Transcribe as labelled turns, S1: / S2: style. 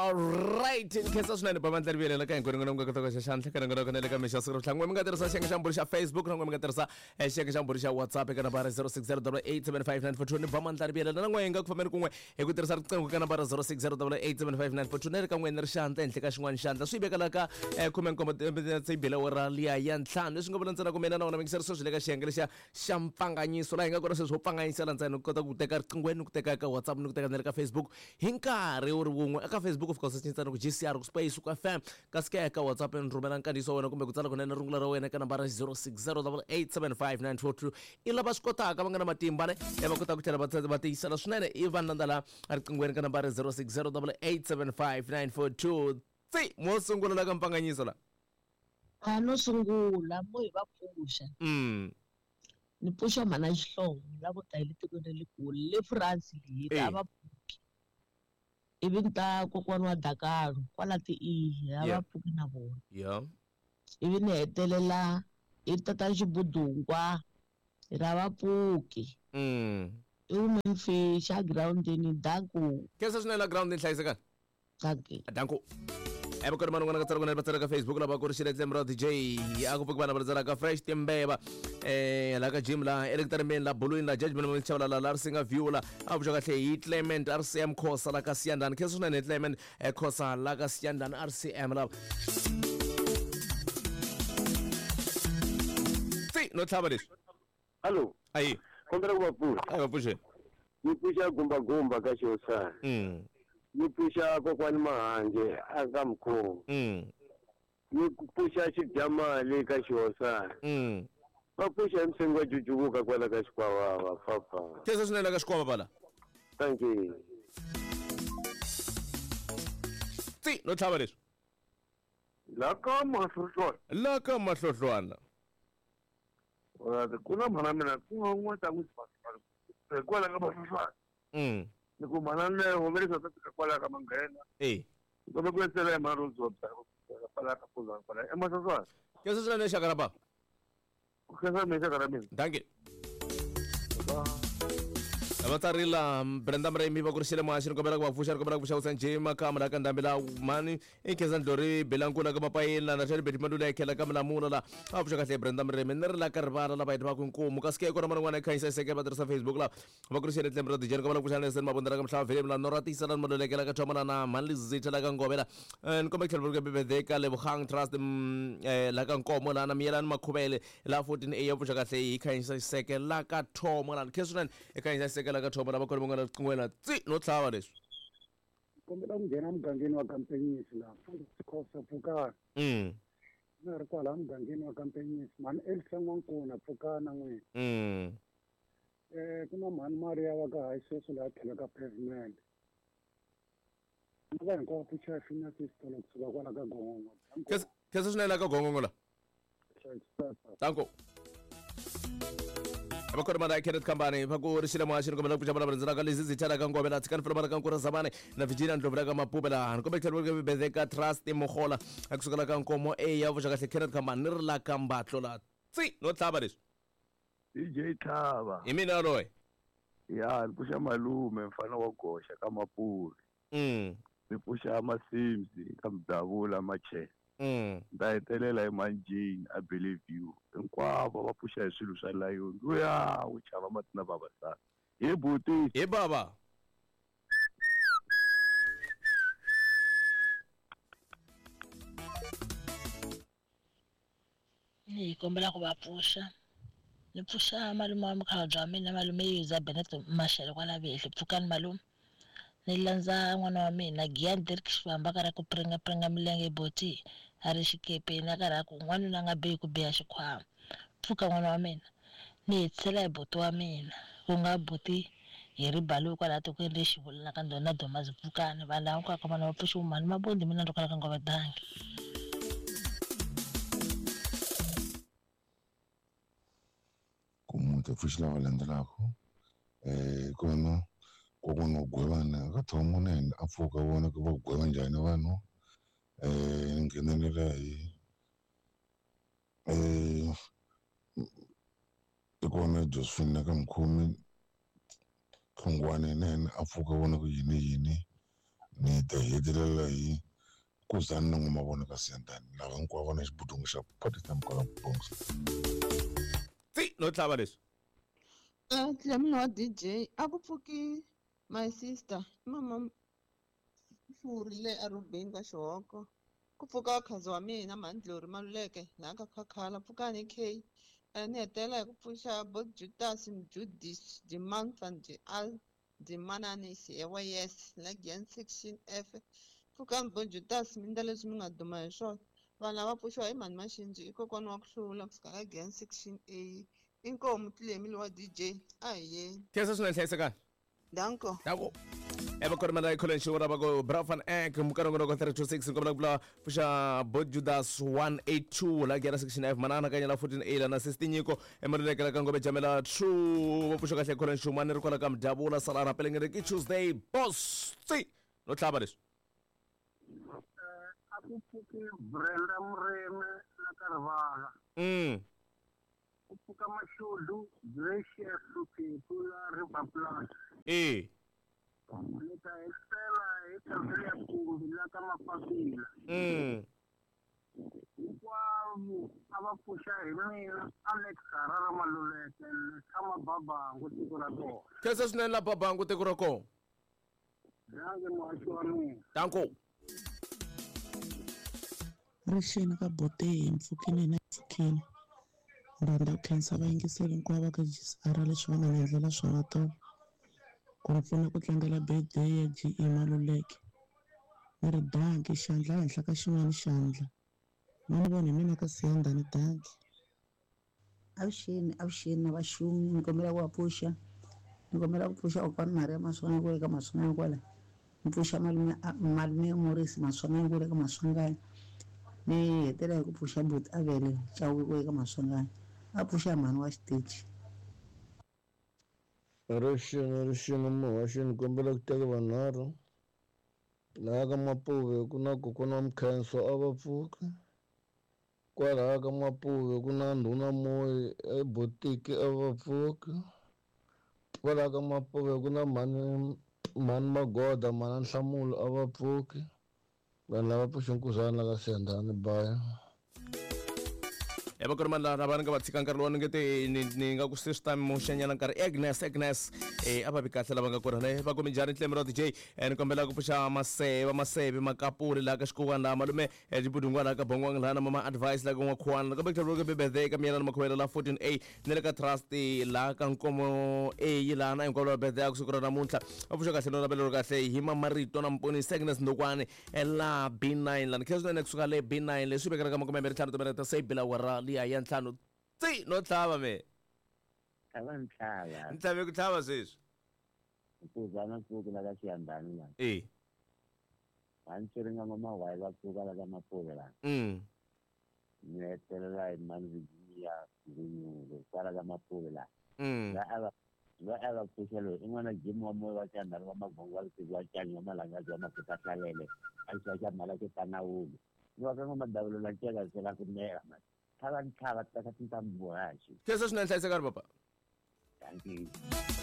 S1: Alright, ni khensa swinene bavandla ri vuyelela ka hinkwenu n'wina mi nga kota ku xa xandla ka nongonoko na le ka mixo siku ra vutlhanu. N'we mi nga tirhisa xiyenge xa mbhuri xa Facebook na n'we mi nga tirhisa xiyenge xa mbhuri xa WhatsApp eka nambara 0608875942 ni bamandla ri vuyelela na n'we hi nga ku fambeni kun'we hi ku tirhisa riqingho ka nambara 0608875942 na le ka n'we ni ri xandla henhla ka xin'wana xandla swi veka la ka 17 tse bile awara liya ya ntlhanu leswi nga vula ntsena ku mina na wena mingiseri sweswi le ka xiyenge lexiya xa mpfanganyiso laha hi nga kona sweswi wo pfanganyisela ntsena ku kota ku teka riqinghweni ni ku teka eka WhatsApp ni ku teka na le ka Facebook hi nkarhi wu ri wun'we. Eka Facebook u fika u secha ntsena ku GCR ku space ku FM kasi ke eka WhatsApp ni rhumela nkandziyiso wa wena kumbe ku tsala kunene rungula ra wena eka nambara 0608875942 i lava swi kotaka va nga na matimba ne va kota ku tlhela va va tiyisela swinene i vanhu landza la riqinghweni ka nambara 0608875942 tsi mo sungula la ka mpfanganyiso la.
S2: A no sungula mo hi va pfuxa. Ni pfuxa mhana Xihlovo lavo ta hi le tikweni ra le kule le France leyi a va pfuki. Ivi ni ta kokwani wa Dakalo kwala ti-E a va pfuki na vona. Ivi ni hetelela hi tatana Xibudungwa hi ri a va pfuki. I hume mfixi a girawundini danko.
S1: Khensa swinene la girawundini hlayisekani.
S2: Dankie.
S1: Danko. Evakoti vanhu n'wana ka tsala kunene va tsala ka Facebook lava ku ri xiletlem ra DJ a ku pfuki vana va tsala ka Fresh Timbeva la ka Jim la Eric Tarembeni la Bulwini la Judgment Mchawula la la Risinga View la a vuxa kahle hi Clement RCM Khosa la ka Siyandani khensa swinene Clement Khosa la ka Siyandani RCM la Tsi no tlhava leswi.
S3: Hallo.
S1: Ayi.
S3: Kombela ku va pfuxa.
S1: A va pfuxeni.
S3: Ni pfuxa gumba gumba ka Xihosana. Ni pfuxa kokwani Mahange a ka Mkhongo. Ni pfuxa Xidyamali ka Xihosana. Va pfuxa hi Msengi wa Jujuvuka kwala ka Xikwavava papa.
S1: Khensa swinene la ka Xikwavava la.
S3: Thank you.
S1: Tsi no tlhava leswi.
S4: La ka Mahlohlwana.
S1: La ka Mahlohlwana.
S4: Ku na mhana mina ku nga un'wana ta n'wi hikwalaho ka Mahlohlwana. Ni ku mhana Neo va le South Africa kwalaho ka Manghena. Ni kombela ku endzela hi mhana Rose kwalaho ka Pulani kwalaho eMahlohlwana.
S1: Khensa swinene xaka ra bava.
S4: Ku khensa mina xaka ra mina.
S1: Dankie. Va tsarila Brenda Mremi va ku ri xile muhaxi ni kombela ku va pfuxa ni kombela ku pfuxa Hussein J Makama la ka ndhambi la mani i Khensa Ndlori Belankula ka Mapayeni la na Shani Betty Madula ya khela ka Milamula la a pfuxa kahle Brenda Mremi ni ri la ka rivala la va heti va ku nkumu kasi ke kona man'wana khanyisa seke va tirhisa Facebook la va ku ri xile Tlembe ra DJ ni kombela ku pfuxa Nelson Mabunda la ka Mhlava Vhele la Nora Tisa la Maluleke la ka Thoma la na Mhani Lizitha la ka Ngove la ni kombela ku tlhela va ku ka Lebogang Trust la ka Nkomo la na Miyelani Makhuvele la 14 A ya pfuxa kahle hi khanyisa xiseke la ka Thomo la khensa swinene i khanyisa xiseke la ka Thomo la va kona van'wana riqingweni tsi no tlhava leswi.
S5: Kombela ku nghena mugangeni wa Kampenyisi laha Mfundhisi Khosa pfukani. Na ri kwala mugangeni wa Kampenyisi mhani Elsa N'wankuna pfukana n'wina. Ku na mhani Maria wa ka hayi sweswi laha tlhelo ka pavement. Na va hinkwavo pfuxa Fina Sister kusuka kwala ka Gongongo.
S1: Khensa swinene la ka Gongongo la. Danko. Va kona Kenneth Kambani va ku ri xile muhaxi ni kombela ku pfuxa vulavula ndzela ka lezi zithela ka Ngove la tshikani fela ka Nkura Zamani na Virginia Ndlovu la ka Mapupe la ni kombela tlhelo ka Betheka Trust Mogola a kusukela ka Nkomo A ya pfuxa kahle Kenneth Kambani ni ri la ka Mbatlo la tsi no tlhava leswi
S4: DJ Tlhava.
S1: Hi mina loyi.
S4: Ya, ni pfuxa malume mfana wa goxa ka Mapuri. Ni pfuxa Masimsi ka Mdavula Machela. Ni ta hetelela hi Mhani Jane, I believe you. Hinkwavo va pfuxa hi swilo swa layoni. Luya wu chava mati na vavasati. Hi buti.
S1: Hi bava.
S2: Ni kombela ku va pfuxa. Ni pfuxa malume wa mukhalabye wa mina malume Yuza Bennett Mashele kwala Vehli. Pfukani malume. Ni landza n'wana wa mina Giyani Dirk Xivamba karhi ku pringa pringa milenge boti a ri xikepeni a karhi a ku n'wanuna a nga bihi ku biha xikhwama. Pfuka n'wana wa mina. Ni hetisela hi buti wa mina ku nga buti Harry Baloyi kwalaha tikweni le Xivula na ka Ndhona Domazi Pfukani. Vanhu lava hinkwako ka vona va pfuxiwe mhani Mabondi mina ndo kwala ka Ngove Dangi.
S6: Ku muti pfuxi lava landzelaka kona kokwana wa Gwevana ka Thomo na yena a pfuka vona ku va gweva njhani vanhu ni nghenelela hi i kona Josephine na ka Mkhomi Hlongwane na yena a pfuka vona ku yini yini ni. ta hetelela hi Kuzani na N'wamavona ka Siyandhani lava hinkwavo va na xibudungu xa party time kwala Bronx.
S1: Tsi no tlhava leswi.
S7: Dlamini wa DJ a ku pfuki my sister i mama Mfuri le Arubeni ka Xihoko ku pfuka khazi wa mina Mhandlori Maluleke laha ka Khakhala pfukani K ni hetelela hi ku pfuxa bo Judas Mjudis Dimantha Al Dimananisi ewa yes la Gian section F pfukani bo Judas mi ndla leswi mi nga duma hi swona vanhu lava pfuxiwa hi mhani Maxinji i kokwana wa ku hlula kusuka ka Gian section A inkomu Tlemi lowa DJ a hi yeni.
S1: Khensa swinene hlayisekani.
S7: Danko.
S1: Danko. Eva Kormela College ora bako Brafan Ek mukarongonoko 326 nkombela ku vula pfuxa Bo Judas 182 la gera section F manana kanya la 14A la na sister Nyiko emalulekela ka Ngome Jamela 2 va pfuxa kahle College Shumani ri kwala ka Mdavula Salana Pelengere ki Tuesday boss tsi no tlhava leswi.
S5: A ku pfuki Brenda Mureme la ka Rivala. Ku pfuka Mashudu Gracious Mphephu la River Plus.
S1: E.
S5: Ni ta hetisela hi Khansele ya Kumbi la ka Mapapila. Hinkwavo a va pfuxa hi mina Alex Harara Maluleke ni tshama Babangu tiko ra kona.
S1: Khensa swinene la Babangu tiko ra kona.
S5: Danke muhaxi wa mina.
S1: Danko.
S8: Rixeni ka Boteyi mpfhukeni na mpfhukeni. Ni rhandza ku khensa vayingiseri hinkwavo va ka GCR leswi va nga ni endlela swona tolo ku ni pfuna ku tlangela birthday ya GE Maluleke. Ni ri dankie xandla ehenhla ka xin'wana xandla. Ma ni vona hi mina ka Siyandhani dankie.
S9: Avuxeni avuxeni na vaxumi ni kombela ku va pfuxa ni kombela ku pfuxa kokwani Maria Maswanganyi kwale ka Maswanganyi kwala ni pfuxa malume malume Morris Maswanganyi kwale ka Maswanganyi ni hetela hi ku pfuxa buti Avele Chauke kwale ka Maswanganyi a pfuxa mhani wa xitichi.
S10: Rixini rixini muhaxi ni kombela ku teka vanharhu laha ka Mapuve ku na kokwana wa Mkhenso a va pfuki kwalaha ka Mapuve ku na ndhuna Moyi ebotiki a va pfuki kwalaha ka Mapuve ku na mhani mhani Magoda mhana Nhlamulo a va pfuki vanhu lava pfuxe nkuzana la ka Siyandhani bye.
S1: Ya va ku ri mani lava ni nga va tshika nkarhi lowu ni nge te ni ni nga ku se swi ta muxanyana nkarhi Agnes Agnes a va vi kahle lava nga kona ne va ku minjhani Ntlemi ra DJ ni kombela ku pfuxa maseve maseve makapuri laha ka xikowani laha malume Dibudungwana ka Bongwang laha na mama Advice laha ka N'wakhuwana kambe ku tlhela ku birthday ka Miyelana Makhuvela la 14A ni le ka Trust laha ka Nkomo A laha na hinkwavo lava birthday ya ku siku ra namuntlha va pfuxa kahle no navelo kahle hi Mamarito na Mponisi Agnes Ndokwani la B9 lani khensa swinene kusuka le B9 leswi vekelaka makume mbirhi ntlhanu timinete se bila awara liya ya ntlhanu tsi no tlhava me
S3: A va ni tlhava.
S1: Ni tlhave ku tlhava sweswi.
S3: Nkuzana pfuki la ka Xiyandhani la.
S1: E.
S3: Va ni tsweri nga ngoma why va pfuka la ka Mapuve la. Ni hetelela hi mani Virginia Ngunyulo kwala ka Mapuve la. La a va loyi a va pfuxa loyi i n'wana Jim wa moya wa Xiyandhani wa Magongo wa Lisiku wa Canyi wa Malangazi wa Makuta Hlalele a xi xa mhala ke Tanawulu. Ni wa ka N'wamadavula la nceka se la ku mela mani. Tlhava ni tlhava teka tintambu muhaxi.
S1: Khensa swinene hlayisekani papa.
S3: Thank you.